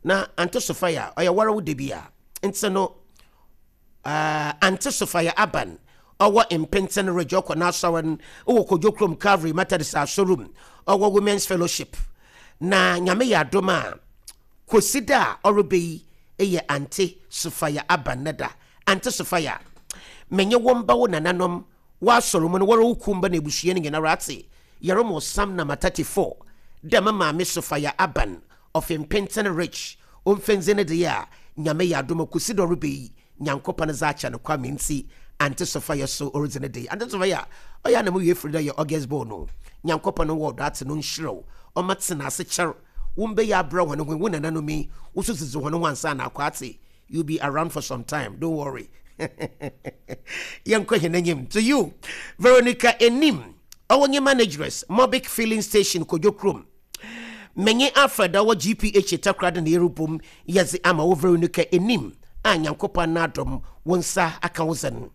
Na Ante Sofia, ɔyɛ woara wo da bi a. Ntsi no, uh, Ante Sofia Aban, ɔwɔ Mpentsen Ridge, ɔkɔ n'asɔr no wɔ Kodwo Kurom Calvary Methodist Asɔr mu, ɔwɔ Women's Fellowship. Na Nyame yɛ adom a, Kwesida a ɔreba yi yɛ Ante Sofia Aban ne da. Ante Sofia, menye wo mba wo nananom w'asɔr mu no, woara wo kuw mba na ebusua no nyinara atse, yɛromɔ Psalm number 34 dɛ me maame Sofia Aban Ɔfe mpentsen rich omfendze ne de a Nyame yɛ adom a kosi dɛ ɔreba yi Nyankopɔn dze akyɛ no kwa me ntsi Aunty Sophia so oridzi ne de Aunty Sophia ɔyɛ a na mo wie fir dɛ yɛ August born o Nyankopɔn wɔ ɔdɔ atse no nhyira wo ɔma tsena ase kyɛr wo mba yi abrɛ hɔn ho wo nananom yi wo so dzidzi hɔn ho ansaana akɔ atse you be around for some time don't worry yɛnkɔ hɛn enyim to you Veronica Enim ɔwɔ nye manageress Mobic filling station Kodwo Krom Menye Alfred a ɔwɔ GPH Takoradi na yerobɔ mu yɛdze ama wo Veronica enyim a Nyankopɔn n'adom wo nsa akã wo dzen.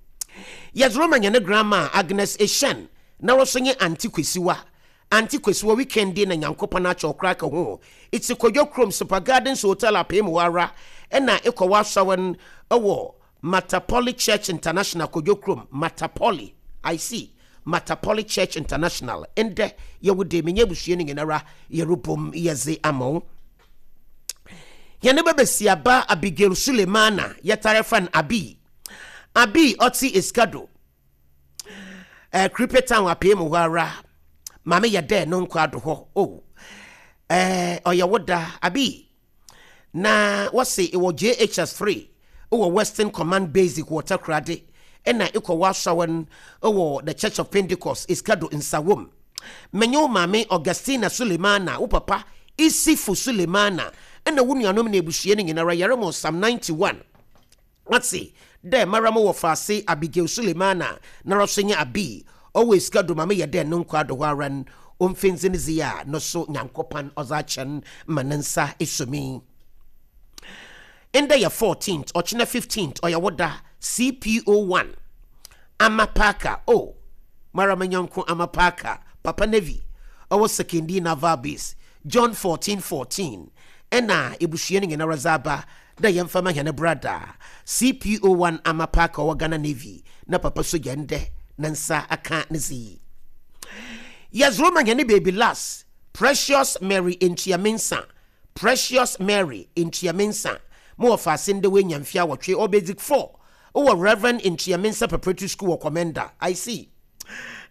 Yɛdze rema hɛn grandma Agnes Eshun na ɔso nye Aunty Kwesiwa. Aunty Kwesiwa weekend yi na Nyankopɔn akyɛ wo koraa ka ho. Itse Kwadwo Kurom Super Gardens Hotel Apeem hɔ ara na ekɔ w'asɔr no wɔ Matapoli Church International Kodwo Kurom, Matapoli, I see, Matapoli Church International, ndɛ yɛ wo de, menye ebusua no nyinara yɛrobɔ mu yɛdze ama wo. Hɛn babasiaba Abigail Sulemana, yɛtaa frɛ no Abi. Abi ɔtse Esikado, eh, Kripe Town apee mu hɔ ara. Maame yɛ dɛ no nkɔ ado hɔ. Oh, eh, ɔyɛ wo da, Abi. Na wɔse ewɔ JHS 3 wɔ Western Command Basic wɔ Takoradi na ekɔ w'asɔr no wɔ The Church of Pentecost, Eskado, Nsawam. Menye wo maame Augustina Sulemana, wo papa Issifu Sulemana na wo nuanom na ebusua no nyinara yɛrema wo Psalm 91. Ɔtse dɛ mara mo wɔfaase Abigail Sulemana noara so nye Abi, ɔwɔ esika do ma meyɛ dɛ no nkwa do hɔ ara n' omfindzi ne dze a no so Nyankopɔn ɔdze akyɛ n' ma ne nsa esuo me. Ndɛ yɛ 14th, ɔkyena 15th, ɔyɛ wo da, CPO 1, Ama Parker, oh, mara me nyɛnko Ama Parker, Papa Navy, ɔwɔ Sekondi Naval Base, John 14 14, nna ebusua no nyinara dze aba dɛ yɛmfa ma hɛn brada CPO-1 Ama Parker ɔwɔ Ghana Navy na papa sogya ndɛ ne nsa akã ne dze yi. Yɛdze rema hɛn baby lass Precious Mary Ntua Mensah, Precious Mary Ntua Mensah, mo wɔfaase ndɛ oenya mfe awɔtwe, ɔwɔ Basic 4 wɔ Rev. Ntua Mensah Preparatory School wɔ Komenda, I see.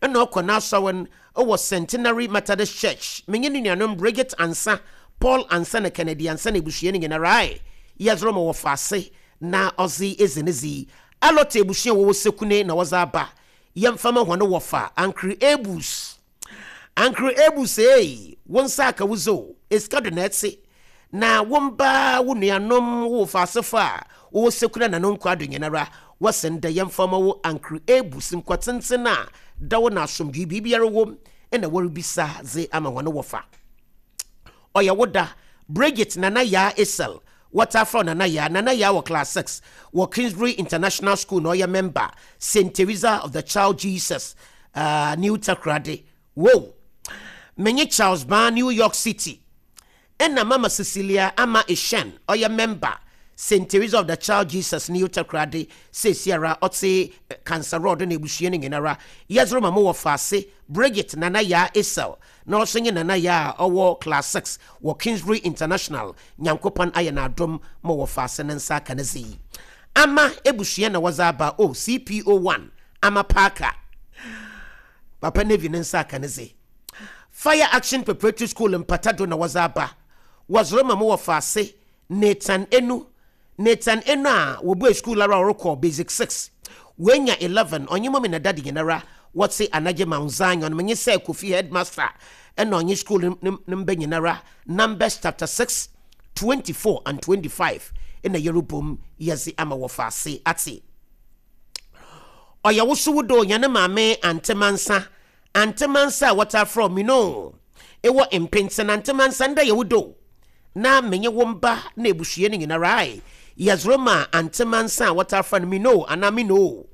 Nna ɔkɔ n'asɔr no wɔ Centenary Methodist Church. Menye no nuanom Bridget Ansah, Paul Ansah na Kennedy Ansah na ebusua no nyinara ae yɛdze rema wɔfaase na ɔdze edzi ne dze yi. Alɔte ebusua a wɔwɔ Sekune na wɔdze aba. Yɛmfa ma hɔn wɔfa Ankre Ebus. Ankre Ebus eei, wo nsa aka wo dze o, esika do na etse. Na wo mba, wo nuanom, wo wofaasefo a wɔwɔ Sekuna na no nkwaa do nyinara, wɔse ndɛ yɛmfa mma wo Ankre Ebus nkwa tsentsen a dɛw na asomdwee biribiara wɔ mu na wɔrebisa dze ama hɔn wɔfa. Ɔyɛ wo da, Bridget Nana Yaa Essel, wɔtaa frɛ wo Nana Yaa, Nana Yaa wɔ Class 6 wɔ Kingsbury International School na ɔyɛ member, Saint Teresa of the Child Jesus, uh, New Takoradi. Wow! Menye Charles Baa New York City. Nna Mama Cecilia Ama Eshun, ɔyɛ mɛmba, Saint Teresa of the Child Jesus New Takoradi, seseiara ɔtse Cancer Road na ebusua no nyinara, yɛdze rema mo wɔfaase Bridget Nana Yaa Essel, na ɔso nye Nana Yaa a ɔwɔ Class 6 wɔ Kingsbury International, Nyankopɔn ayɛ no adom ma wɔfaase ne nsa aka ne dze yi. Ama ebusua na wɔdze aba o, CPO 1, Ama Parker, Papa Navy ne nsa aka ne dze. Fire Action Preparatory School mpata do na wɔdze aba. Wɔdze rema mo wɔfaase Nathan Enu. Nathan Enu a wobuee skuul ara a ɔrokɔ Basic 6. Oenya 11, ɔnye Mummy na Daddy nyinara wɔtse Anagye Mount Zion. Menye Sir Kofi Headmaster na ɔnye skuul no ne mba nyinara Numbers chapter 6, 24 and 25 na yerobɔ mu yɛdze ama wɔfaase atse. Ɔyɛ wo so wo do, hɛn maame Aunty Mansa Ante Mansa a wɔtaa frɛ wo Minoo ewɔ mpentsen Ante Mansa ndɛ yɛ wo do na menye wo mba na ebusua no nyinara ae yɛdze rema Ante Mansa a wɔtaa frɛ no Minoo anaa Minoo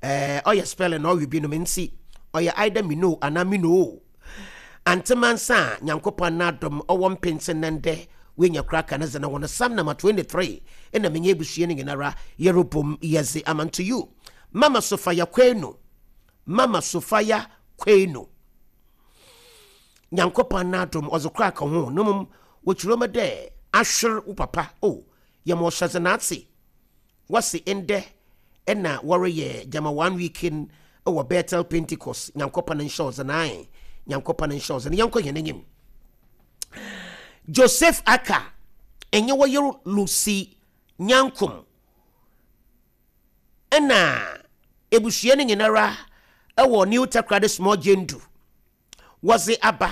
eh ɔyɛ spelling na ɔwe binom ntsi ɔyɛ either Minoo anaa Minoo Ante Mansa a Nyankopɔn n'adom ɔwɔ mpentsen na ndɛ. Woenya kor aka ne dze no ho no, Psalm number 23 na menye ebusua no nyinara yɛrobɔ mu yɛdze ama. To you, Mama Sophia Kwenu, Mama Sophia Kwenu, Nyankopɔn n'adom ɔdze kor aka ho no mom wɔkyerɛ mu dɛ ahwer wo papa o yɛma ɔhyɛdze n'atse. Wɔse ndɛ na wɔreyɛ gyama one week wɔ Bethel Pentecost. Nyankopɔn nhyɛ ɔdze n'ae, Nyankopɔn nhyɛ ɔdze no. Yɛnkɔ hɛn enyim. Joseph Aka enye wo yer Lucy Nyankom na ebusua no nyinara wɔ New Takoradi Small Jendu. Wɔdze aba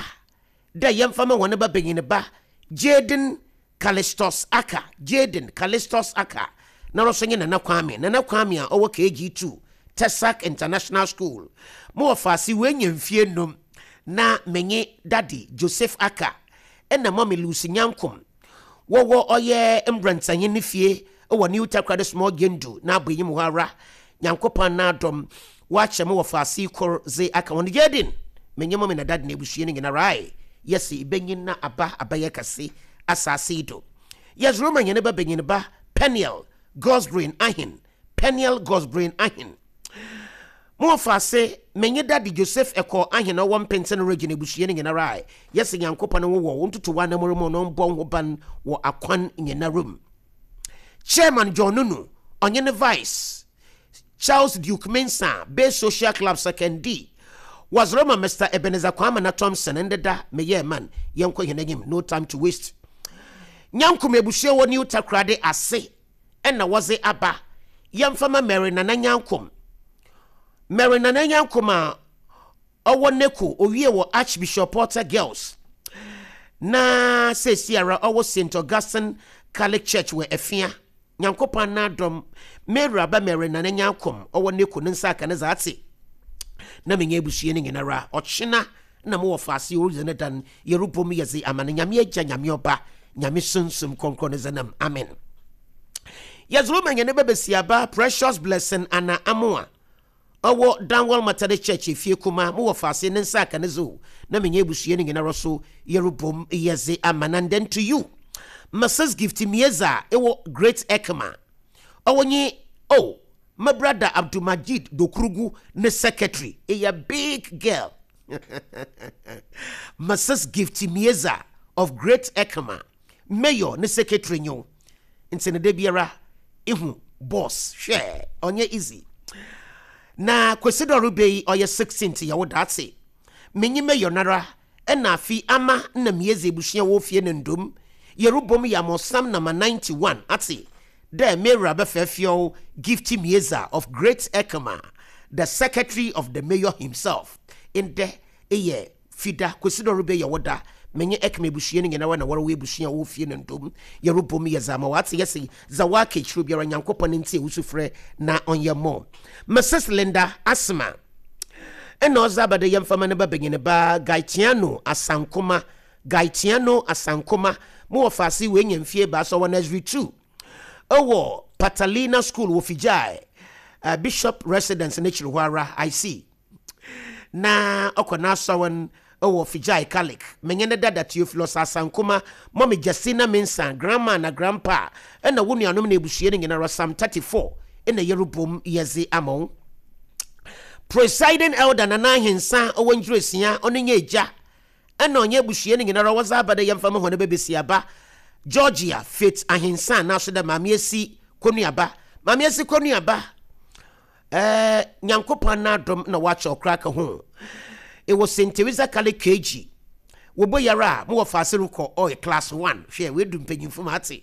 dɛ yɛmfa ma hɔn babanyin ba Jayden Callistus Aka, Jayden Callistus Aka, noara so nye Nana Kwame, Nana Kwame a ɔwɔ KG2, Tesac International School. Mo wɔfaase oenya mfe enum na menye Daddy Joseph Aka na Mummy Lucy Nyankom Wɔwɔ ɔyɛ mbrantsanyin ne fie wɔ New Takoradi Small Gendu n'aboenyim hɔ ara. Nyankopɔn n'adom, wɔakyɛ mo wɔfaase kor dze aka hɔn. Jaden, menye mummy na daddy na ebusua no nyinara ae, yɛse ibenyin na aba abɛyɛ kɛse asaase yi do. Yɛdze rema hɛn ba banyin ba Peniel Gosbrin Ahen, Peniel Gosbrin Ahen. Mo wɔfaase, menye Daddy Joseph Ekow Ahen a ɔwɔ Mpentsen Region ebusua no nyinara a yɛse Nyankopɔn nwowɔ wo ntoto w'anamur mu na ɔmbɔ woho ban wɔ akwan nyinara mu. Chairman John Nunu, ɔnye ne Vice, Charles Duke Mensah, Base Social Club Sekondi, wɔdze rema Mister Ebenezer Kwamena Thompson ndeda meyɛɛ man, yɛnkɔ hɛn enyim, no time to waste. Nyankom ebusua wɔ New Takoradi ase na wɔdze aba. Yɛmfa ma Mary Nana Nyankom. Mary Nana Nyankom a ɔwɔ Neko, owie wɔ Archbishop Porter Girls, na seesiara ɔwɔ St. Augustine Catholic Church wɔ Afia. Nyankopɔn n'adom, Mary aba Mary Nana Nyankom ɔwɔ Neko ne nsa aka ne dza atse. Na menye ebusua no nyinara, ɔkyena na mowɔ faase oridzi ne dan, yerobɔ mu yɛdze ama no, Nyame Egya, Nyame Ɔba, Nyame Sunsum Krɔnkrɔn ne dzin mu, amen. Yɛdze rema hɛn ba basiaba Precious Blessing Anna Amoah, ɔwɔ Danwell Methodist Church Efie Kuma, mowɔ faase ne nsa aka ne dze o, na menye ebusua no nyinara so yerobɔ mu yɛdze ama no. And then to you, Mrs Gifty Mieza, ewɔ Great Ekma, ɔwɔ nye, oh, Me brada Abdulmajid Dokurugu ne secretary eyɛ big girl. Mrs Gifty Mieza of Great Ekema, Mayor ne secretary nye wo. Ntsi no da biara ihu boss hwɛ ɔnnyɛ easy. Na Kwesi dɛ ɔreba yi ɔyɛ 16th yɛ wo daatse. Menye Mayor noara na afi ama nna miedzi ebusua wɔ fie no ndom yerobɔ mu yɛ amɔsam na ma 91 atse dɛ m'ewura bɛfɛɛfeɔw Gifty Mieza of Great Ekema, the secretary of the mayor himself. Ndɛ eyɛ Fida, Kwesi dɛ ɔrebɛyɛ wo da, menye Ekema ebusua no nyinara na wɔrowɔ ebusua wɔ fie no ndom yerobɔ mu yɛ dza ama wɔatse yɛse dza wɔaka ekyir biara Nyankopɔn ntsie wo sufrɛ na ɔnyɛ mɔ. Mrs Linda Asma. Nna ɔdze aba dɛ yɛmfa ma ne babanyin ba Gaetiano Asankoma, Gaetiano Asankoma, mo wɔfaase oenya mfe ebiasa, ɔwɔ Nursery 2 wɔ Patalina School wɔ Fijai, Bishop Residence n'ekyir hɔ ara, I see. Na ɔkɔ n'asɔr wɔ Fijai Catholic. Menye ne dada Theophilus Asankoma, Mummy Justina Mensah, Grandma na Grandpa, na wo nuanom na ebusua no nyinara, Psalm 34 na yɛrobɔ mu yɛdze ama wo. Presiding Elder Nana Ahensa ɔwɔ Ngyiresi ɔno nye egya na ɔnye ebusua no nyinara wɔdze aba dɛ yɛmfa ma hɔn babasiaba Georgia Faith Ahensa naaso dɛ Maame Esi Konuaba. Maame Esi Konuaba, eh, Nyankopɔn n'adom na wɔakyɛ ɔkora ka ho. Ewɔ St. Teresa Catholic KG. Wɔbɔ yara a, mowɔ faase rokɔ ɔyɛ class 1. Hwɛ, woedu mpanyimfo ma atse.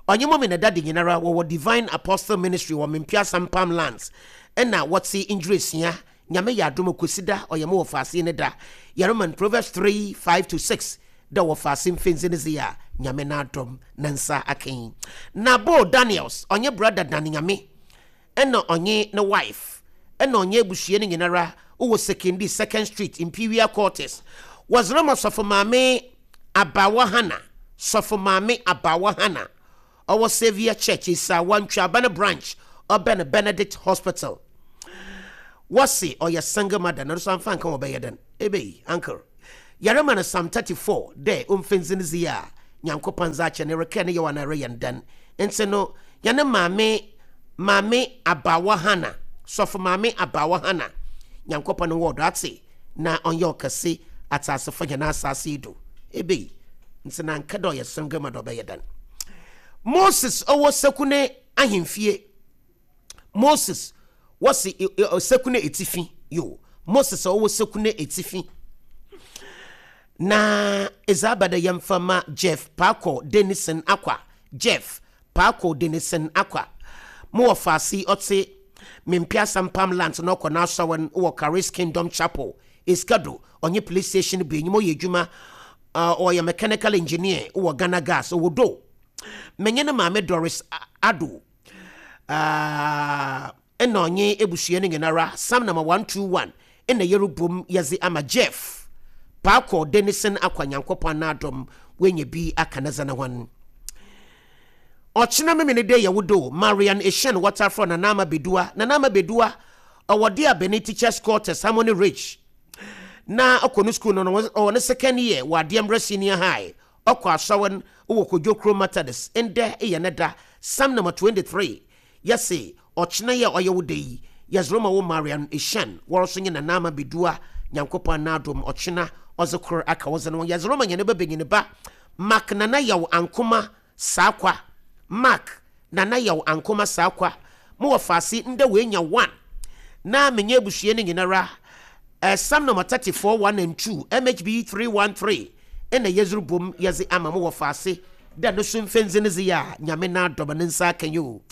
Ɔnye Mummy na Daddy nyinara wɔwɔ Divine Apostle Ministry wɔ Mempeasa Mpam Lands na wɔtse Ngyiresi. Nyame yɛ adom a Kwesida ɔyɛ mo wɔfaase ne da. Yɛreman Proverbs 3, 5-6 dɛ wɔfaase mfendze ne dze a Nyame n'adom ne nsa akã yi. Nabo Daniels ɔnye Brother Dan Nyame na ɔnye ne wife na ɔnye ebusua no nyinara wɔ Sekondi Second Street Imperial Quarters. Wɔdze rema Sɔfo Maame Abawa Hannah, Sɔfo Maame Abawa Hannah, ɔwɔ Saviour Church, Esaawa, Ntweaban Branch, ɔbɛn Benedict Hospital. Wɔse ɔyɛ single mother, na no so amfa anka wɔbɛyɛ dɛn? Ebei, uncle. Yɛrema no Psalm 34 dɛ omfa ndzi ne dze a Nyankopɔn dze akyɛ no, erekɛɛ ne yaw anaa ereyɛ no dɛn? Ntsi no, hɛn maame, Maame Abaawa Hannah, Sɔfo Maame Abaawa Hannah, Nyankopɔn nwɔ do atse na ɔnyɛ ɔkɛse atseasefo hɛn asaase yi do. Ebei, ntsi na anka dɛ ɔyɛ srɛnga mu a dɛ ɔbɛyɛ dɛn? Moses ɔwɔ Sekune ahemfie. Moses wɔsi Sekune etsifi, yo, Moses ɔwɔ Sekune etsifi. Na edze aba dɛ yɛmfa ma Jeff Paako Denison Akwa, Jeff Paako Denison Akwa. Mo wɔfaase yi ɔtse Mempeasa Mpam Lands na ɔkɔ n'asɔr no wɔ Charis Kingdom Chapel, Eskado, ɔnye police station bɔ enyim ɔyɛ edwuma, ɔyɛ mechanical engineer wɔ Ghana Gas, ɔwɔ Do. Menye ne maame Doris Addo nna ɔnye ebusua no nyinara, Psalm number 121 nna yerobɔ mu yɛdze ama Jeff Paakor Denison Akwa Nyankopɔn n'adom oenya bi aka ne dze no ho. Ɔkyena Memeneda yɛ wo do, Marian Eshun wɔtaa frɛ Nana Ama Bedua, Nana Ama Bedua ɔwɔ Deabeni Teachers Quarters, Harmony Ridge na ɔkɔ no skuul no, ɔwɔ ne second year wɔ Adeɛmbrɛ Senior High. Ɔkɔ asɔr no wɔ Kojo Krom Methodist, ndɛ yɛ ne da, Psalm number 23, Yɛse ɔkyena yi a ɔyɛ wo da yi, yɛdze rema wo Marian Eshan, woara so nye Nana Ama Bedua, Nyankopɔn n'adom, ɔkyena ɔdze kor aka wo dze no ho, yɛdze rema hɛn ba banyin ba, Mark Nana Yaw Ankoma Saakwa, Mark Nana Yaw Ankoma Saakwa, mo wɔfaase ndɛ oenya one, na menye ebusua no nyinara, Psalm number 34, 1 and 2, MHB 313, nna yɛdze robɔ mu yɛdze ama mo wɔfaase dɛ no so mfɛndzi ne dze yɛ a Nyame n'adom ne nsa aka yi o.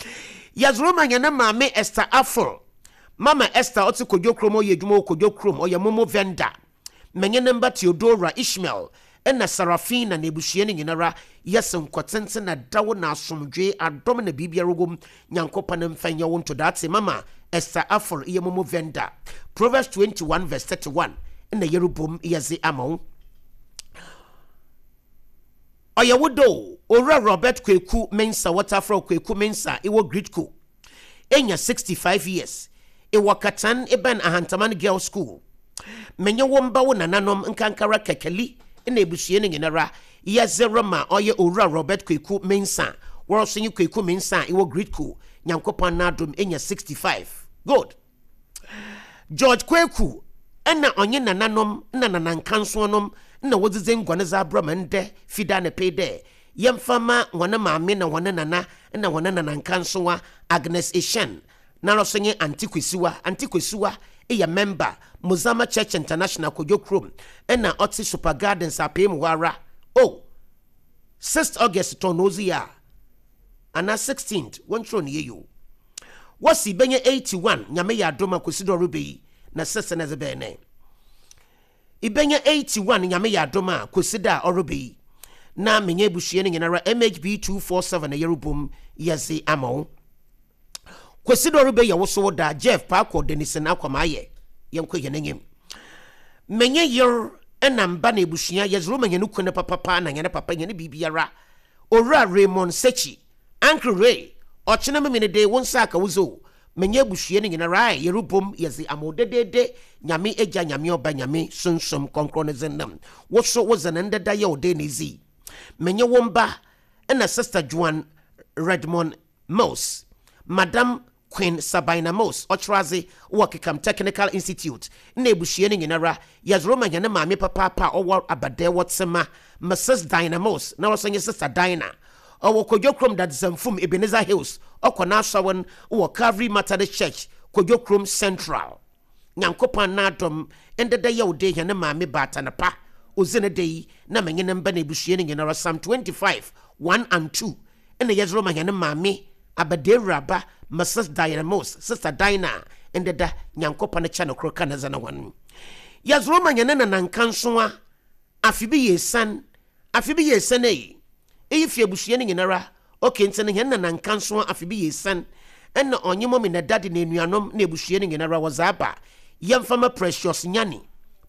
Yɛdze rema hɛn maame Esther Aful, Mama Esther ɔtse Kodwo kurom ɔyɛ edwuma wɔ Kodwo kurom ɔyɛ momo vendor. Menye ne mba Theodora, Ishmael, na Sarafina na ebusua no nyinara yɛse nkɔtsentsen na daw na asomdwee adom na biribiara wɔ mu Nyankopɔn mfa nyɛ wo ntodaatse Mama Esther Aful eyɛ momo vendor. Proverbs 21 verse 31 nna yɛrobɔ mu yɛdze ama wo. Ɔyɛ wo dɛ o, Owura Robert Kweku Mensah, wɔtaa frɛ wo Kweku Mensah, ewɔ Gridco. Enya 65 years. Ewɔ Katan ebɛn Ahantaman Girls School. Menye wo mba wo nananom nkankara Kɛkɛli na ebusua no nyinara yɛdze rema ɔyɛ Owura Robert Kweku Mensah, woara so nye Kweku Mensah a ewɔ Gridco. Nyankopɔn n'adom enya 65. Good. George Kweku na ɔnye nananom na nanankansoɔnom na wodzidzi ngua no dze abrɛ me ndɛ Fida anapa yi dɛ yɛmfa mma hɔn maame na hɔn nana na hɔn nanankansowa Agnes Eshan noara so nye Aunty Kwesiwa. Aunty Kwesiwa yɛ mɛmba Mozama Church International Kodwo Kurom na ɔtse Super Gardens apee mu hɔ ara. Oh! Sixth August tɔn na odzi a anaa 16th wɔnkyerɛw no yie o. Wɔsi bɛnyɛ 81 Nyame yɛ adom a Kwesi dɛ ɔreba yi na sese na ɛdze bɛyɛ nɛ. Ibɛnya 81 Nyame yɛ adom a Kwesi da a ɔreba yi na menye ebusua no nyinara MHB 247 na yɛrobom yɛdze ama wo. Kwesi dɛ ɔreba yi yɛ wo so wo da Jeff Paakɔ Denison Akwamaayɛ yɛnkɔ hɛn enyim. Menye yer na mba na ebusua yɛdze roma hɛn kun papapa na hɛn papa hɛn biribiara Owura Raymond Sekyi Uncle Ray, ɔkyena Memenede wo nsa aka wo dze o, menye ebusua no nyinara ae yerobom yɛdze ama wo dedeede, Nyame Egya, Nyame Ɔba, Nyame Sunsum Krɔnkrɔn ne dzin nam wo so wo dze no ndeda yɛ wo dɛn na edzi. Menye wo mba na Sister Joan Redmond Mills, Madam Queen Sabina Mills, ɔkyerɛadze wɔ Kekam Technical Institute, na ebusua no nyinara, yɛdze rema hɛn maame papaapa a ɔwɔ Abadɛɛ wɔ Tsema, Mrs Dinah Mills, na ɔso nye Sister Dinah. Ɔwɔ Kodwo Krom Dadzesamfum, Ebenezer Hills, ɔkɔ n'asɔr no wɔ Calvary Methodist Church, Kodwo Krom Central. Nyankopɔn n'adom, ndɛ da yɛwde hɛn maame baatan pa, odzi ne da yi, na menye ne mba na ebusua no nyinara, Psalm 25, 1 and 2, nna yɛdze rema hɛn maame abadaewuraba Mrs Diana Mills, Sister Dinah, a ndɛ da Nyankopɔn kyɛ no kor ka ne dze no ho. Yɛdze rema hɛn nanankansowa, afe bi yɛ esian, afe bi yɛ esian ei, iyi fi ebusua no nyinara, okay, ntsi no hɛn nanankansowa afe bi yɛ esian, nna ɔnye mummy na daddy na enuanom na ebusua no nyinara wɔdze aba, yɛmfa ma Precious Nyani,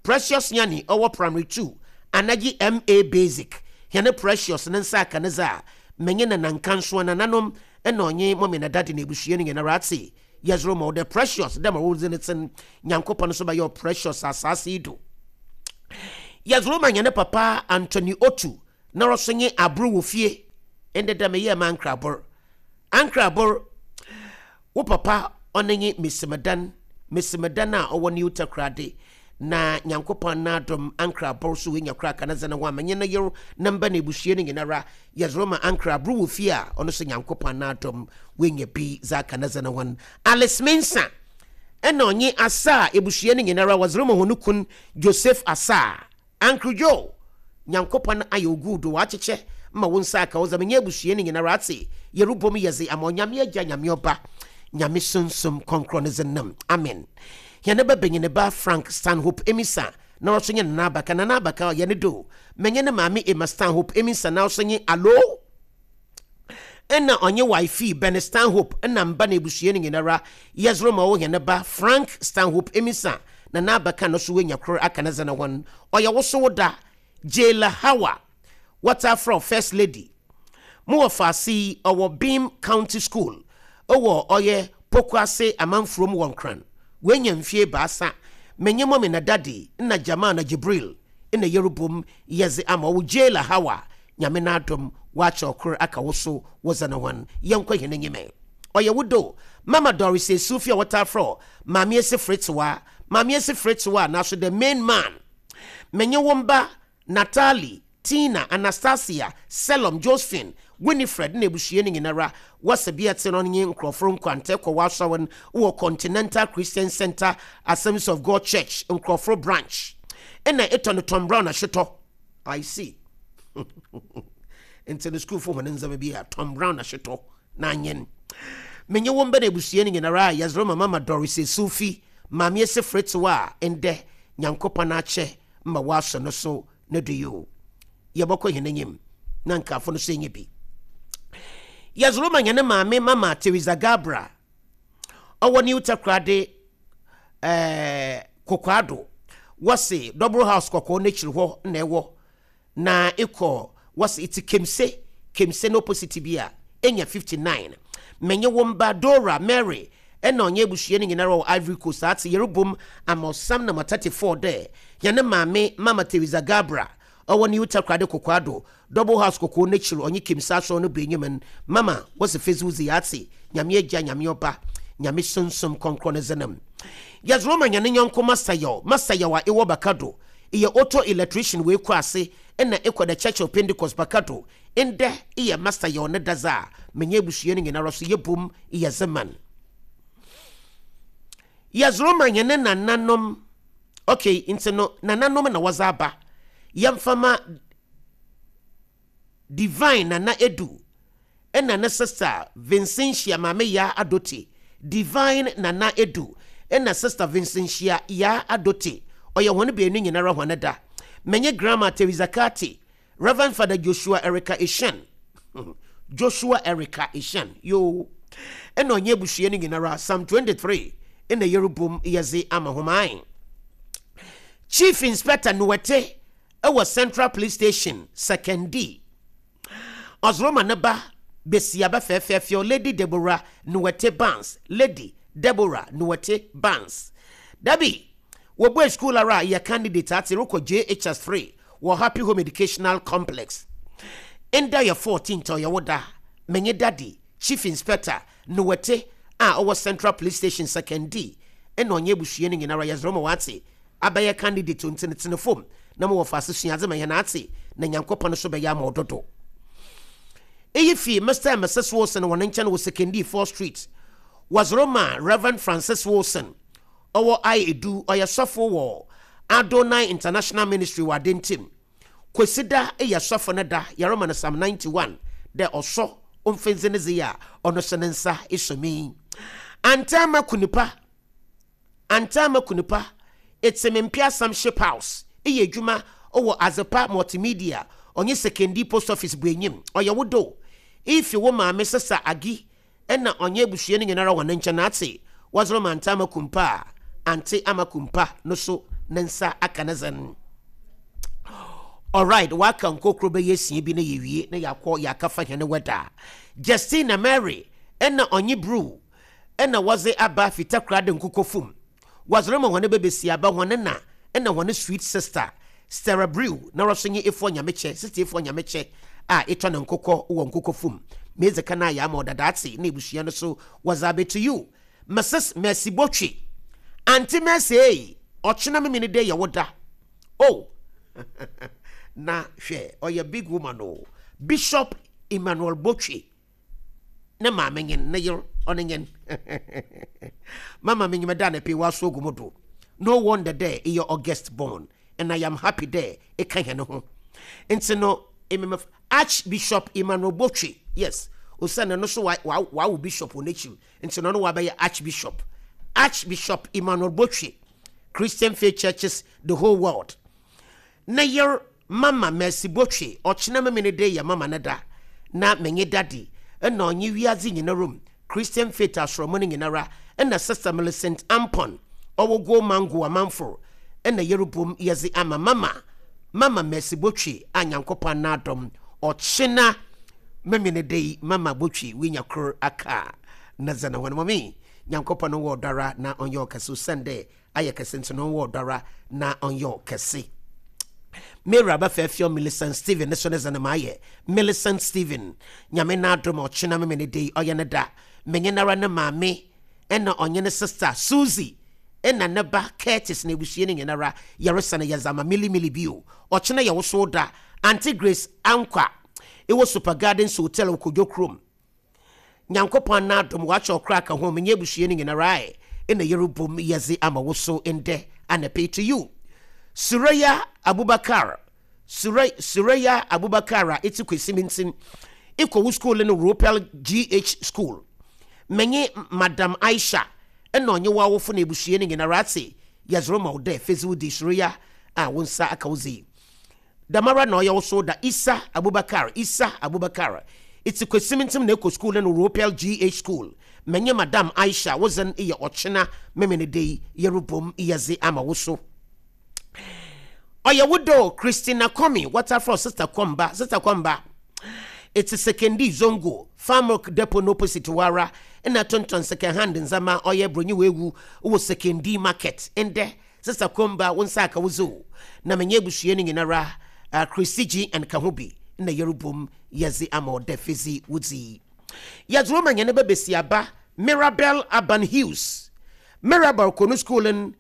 Precious Nyani ɔwɔ Primary 2, Anagye MA Basic, hɛn Precious ne nsa aka ne dze a, menye nanankansowa, nananom na ɔnye mummy na daddy na ebusua no nyinara atse, yɛdze rema wo dɛ Precious, dɛ ma wo dzin tse no, Nyankopɔn so bɛyɛ wo precious asaase yi do. Yɛdze rema hɛn papa Anthony Otu. Na ɔso nye abor wɔ fie. Ndɛ da meyɛɛ m'ankrabor. Ankrabor, wo papa ɔno nye Mesimedan, Mesimedan a ɔwɔ New Takoradi. Na Nyankopɔn n'adom Ankrabor so oenya kor aka ne dze no ho a menye ne yer ne mba na ebusua no nyinara yɛdze rema Ankrabor wɔ fie a ɔno so Nyankopɔn n'adom oenya bi dze aka ne dze no ho. Alice Mensah na ɔnye Asah ebusua no nyinara wɔdze rema hɔn kun Joseph Asah. Uncle Joe, Nyankopɔn ayɛ wo good o, ɔakyekyɛ ma wo nsa aka wo dza menye ebusua no nyinara atse, yerobɔ mu yɛdze ama Onyame Agya, Nyame Ɔba, Nyame Sunsum Krɔnkrɔn ne dzin no mu, amen. Hɛn ba banyin ba Frank Stanhope Amissah, na ɔso nye Nana Abaka, Nana Abaka ɔyɛ ne do, menye ne maame Emma Stanhope Amissah na ɔso nye Alo, Nna ɔnye wifey Ben Stanhope na mba na ebusua no nyinara yɛdze rema wo hɛn ba Frank Stanhope Amissah na n'abakan no so oenya kor aka ne dze no ho no, ɔyɛ wo so wo da. Jayla Hawa, wɔtaa frɛ wo First Lady. Mo wɔfaase yi ɔwɔ Beam County School wɔ ɔyɛ Pokuase Amanfurom wɔ Nkran. Oenya mfe ebiasa. Menye Mummy na Daddy na Jamal na Jibril na yerobɔ mu yɛdze ama wo Jayla Hawa Nyame n'adom wɔakyɛ ɔkor aka wo so wo dze no hɔn, yɛnkɔ hɛn enyim ɛ. Ɔyɛ wo do Mama Doris Esufi a wɔtaa frɛ wo Maame Esi Fretsewa, Maame Esi Fretsewa naaso the main man. Menye wo mba Natalie, Tina, Anastasia, Selom, Josephine, Winifred na ebusua no nyinara, wɔse bea tse no nye nkorɔfo nkwantɛ kɔ w'asɔr no wɔ Continental Christian Centre Assemblies of God Church, Nkorɔfo Branch. Nna etɔ no Tom Brown ahyetɔ. I see. Nti no sukuufo hɔn ndzɛmba bi a Tom Brown ahyetɔ na anyen. Menye wo mba na ebusua no nyinara a yɛdze rema Mama Doris Esufi, Maame Esi Fretsewa a ndɛ Nyankopɔn akyɛ ma wɔasɔ no so no do yi o. Yɛbɔkɔ hɛn enyim na nkaafo no so enye bi. Yɛdze rema hɛn maame Mama Teresa Gabra ɔwɔ New Takoradi ɛɛ Kokoado. Wɔse Double House kɔkɔɔ n'ekyir hɔ na ɛwɔ na ekɔ wɔse etse Kemse, Kemse no opposite bi a enya 59. Menye wo mba Dora, Mary na ɔnye ebusua no nyinara wɔ Ivory Coast atse yerobom ama ɔsam number 34 dɛ hɛn maame Mama Teresa Gabra ɔwɔ New Takoradi Kokoado Double House Kɔkɔɔ n'ekyir ɔnye Kimsa Asɔr no bɔ enyim n' mama wɔdze fedzi dzi atse Nyame Egya, Nyame Ɔba, Nyame Sunsum Krɔnkrɔn ne dzin mu. Yɛdze rema hɛn nyɛnko Master Yaw, Master Yaw a ewɔ Bakado, eyɛ auto electrician wɔ Ekuase nna ekɔ The Church of Pentecost Bakado, ndɛ eyɛ Master Yaw ne dadze a menye ebusua no nyinara so yɛbɔ mu yɛdze ma n'. Yɛdze rema hɛn nananom, okay, ntsi no nananom na wɔdze aba, yɛmfa ma Divine Nana Adu na ne sister Vincentia Maame Yaa Adote Divine Nana Adu na sister Vincentia Yaa Adote ɔyɛ hɔn beenu nyinara hɔn da. Menye Grandma Teresa Carty, Rev. Father Joshua Erica Eshan Joshua Erica Eshan yoo na ɔnye ebusua no nyinara Psalm 23 na yerobom yɛdze ama hom ae. Chief Inspector Nuete wɔ Central Police Station, Sekondi. Ɔdze ne ba basiaba fɛɛfɛɛfɛw Lady Deborah Nuete Barnes, Lady Deborah Nuete Barnes. Dabi, wobuee skuul ara a eyɛ candidate atse rokɔ JHS 3 wɔ Happy Home Educational Complex. Ndɛ yɛ 14th ɔyɛ wo da. Menye Daddy, Chief Inspector Nuete a ɔwɔ Central Police Station, Sekondi na ɔnye ebusua no nyinara yɛdze rema wo atse abɛyɛ candidate o ntsi no tsena famu na mo wɔfaase sua adze ma hɛn atse na Nyankopɔn so bɛyɛ ama wo dodo. Iyi fi Mister and Misus Wilson hɔn nkyɛn wɔ Sekondi 4th Street. Wɔdze rema Rev. Francis Wilson, ɔwɔ I Edu, ɔyɛ sɔfo wɔ Adonai International Ministry wɔ Adentim. Kwesida yɛ sɔfo no da, yɛrema no Psalm 91 dɛ ɔsɔ omfendze ne dze a ɔno so ne nsa esɔ mi. Antaama Kunipa Antaama Kunipa, etse me Mpeasam Ship House, eyɛ edwuma wɔ Adzepa Multimedia, ɔnye Sekondi Post Office bɔ enyim. Ɔyɛ wo do. Ifi wo maame Sesa Agi na ɔnye ebusua no nyinara hɔn nkyɛn atse wɔdze rema Antaama Kumpa a, Ante Ama Kumpa no so ne nsa aka ne dzen. Alright, wɔaka nkokor bɛyɛ esia bi na yewie na yɛakɔ yɛakɛfa hɛn weather. Justina Mary na ɔnye Brew na wɔdze aba fi Takoradi Nkokɔ famu. Wɔdze rema hɔn babasiaba, hɔn na, na hɔn sweet sister. Stera Brew na ɔso nye Efua Nyamekyɛ, Sister Efua Nyamekyɛ a etɔ ne nkokɔ wɔ nkokɔ fum. Medze kan ayɛ ama ɔdadaatse na ebusua no so wɔdze abɛto you. Mrs Mercy Botwe. Auntie Mercy ei, ɔkyena memene dɛ yɛ wo da. Oh! Na hwɛ, ɔyɛ big woman o. Bishop Emmanuel Botwe ne maame nyen, ne yer, ɔne nyen. Mama minyim dɛ anapa yi w'aso ogu mo do. No wonder dɛ eyɛ August born and I am happy dɛ eka hɛn ho. Ntsi no, emi mef Archbishop Emmanuel Botwe, yes, osiandɛ no so ɔawo bishop wɔ n'ekyir, ntsi no ɔno ɔabɛyɛ Archbishop. Archbishop Emmanuel Botwe, Christian Faith Churches the whole world. Ne yer Mama Mercy Botwe, ɔkyena Memenede yɛ Mama ne da, na menye Daddy na ɔnye wiadze nyinara mu Christian Faith asorɔmɔ no nyinara na Sister Millicent Ampon ɔwɔ Go Mango Amanfor na yerobom yɛdze ama Mama Mama Mercy Botwe a Nyankopɔn n'adom ɔkyena Memenede yi Mama Botwe woenya kor aka ne dze no ho no. Mame Nyankopɔn nwɔ ɔdɔ ara na ɔnyɛ ɔkɛse osiandɛ ayɛ kɛse nti no ɔnwɔ ɔdɔ ara na ɔnyɛ ɔkɛse. Mary abɛfɛɛfeɔ Millicent Stephen ne so ne dze no mayɛ Millicent Stephen Nyame n'adom ɔkyena memene de yi ɔyɛ ne da menye nara ne maame ɛna ɔnye ne sister Susie ɛna ne ba Curtis na ebusua no nyinara yɛresane yɛdze ama Millie Millie bio ɔkyena yɛ wo so da Auntie Grace Ankwah ewɔ Super Gardens Hotel wɔ Kodwo kurom Nyankopɔn n'adom ɔakyɛ ɔkra ka ho menye ebusua no nyinara ɛ nna yerobom yɛdze ama wo so ndɛ anapa yi to you Suraya Abubakar Suraya Suraya Abubakar a etse Kwesi ekɔ wo skuul no Ropel GH School menye Madam Aisha nna ɔnye w'awofo na ebusua no nyinara atse yɛdze roma wo dɛ fedze wo di Suraya a wo nsa aka wo dze yi. Dɛmara na ɔyɛ wo so da Issah Abubakar Issah Abubakar Itse Kwesimintim na ekɔ skuul no Ropel GH School Menye Madam Aisha wo dzen yɛ ɔkyena Memeneda yi yerobom yɛdze ama wo so Ɔyɛ wo dɛ o Christina Kwame wɔtaa frɛ wo Sister Kwamba Sister Kwamba Itse Sekondi Zongo Farmilk Depot no opposite hɔ ara na etontɔn second hand ndzɛmba ɔyɛ Bronyi Woewu wɔ Sekondi Market Ndɛ Sista Komba, wo nsa aka wo dze o, na menye ebusua no nyinara, Christy G and ka ho bi, nna yerobom yɛdze ama wo dɛ fedzi wo dzi. Yɛdze roma hɛn ba basiaba Mirabel Aban Hughes. Mirabel kɔ no skuul no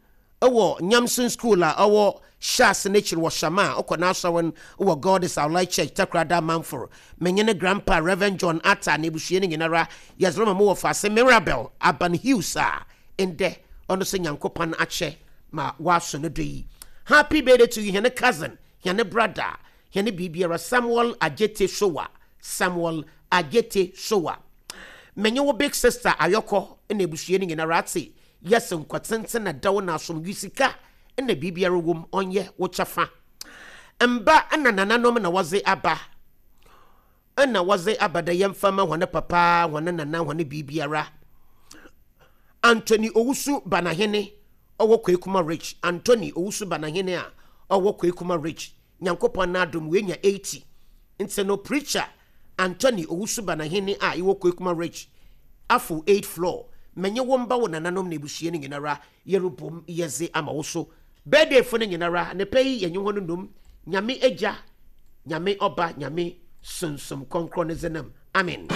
wɔ Nyamson Skuul a ɔwɔ Hyɛase n'ekyir wɔ Shama a ɔkɔ n'asɔr no wɔ God is Our Light Church, Takoradi Amanfor. Menye ne grandpa Rev. John Arthur na ebusua no nyinara yɛdze roma mo wɔfaase Mirabel Aban Hughes a ndɛ ɔno so Nyankopɔn akyɛ ma ɔaso no do yi. Happy birthday to you hɛn cousin, hɛn brother, hɛn biribiara Samuel Adjetey Sowah, Samuel Adjetey Sowah. Menye wo big sister Ayɔkɔ na ebusua no nyinara atse yes nkwa tsentsen na dɛw na asomdwe sika na biribiara wɔ mu ɔnyɛ wo kyɛfa. Mba na nananom na wɔdze aba na wɔdze aba dɛ yɛmfa mma hɔn papa, hɔn nana, hɔn biribiara. Anthony Owusu Banahene ɔwɔ Kwekuma Ridge, Anthony Owusu Banahene a ɔwɔ Kwekuma Ridge, Nyankopɔn n'adom oenya 80. Ntsi no Preacher Anthony Owusu Banahene a ewɔ Kwekuma Ridge, Afo 8 floor, menye wo mba, wo nananom na ebusua no nyinara yerobom yɛdze ama wo so. Birthday fo no nyinara, anapa yi yɛnye hɔn nnom Nyame Egya, Nyame Ɔba, Nyame Sunsum Krɔnkrɔn ne dzinam. Amen.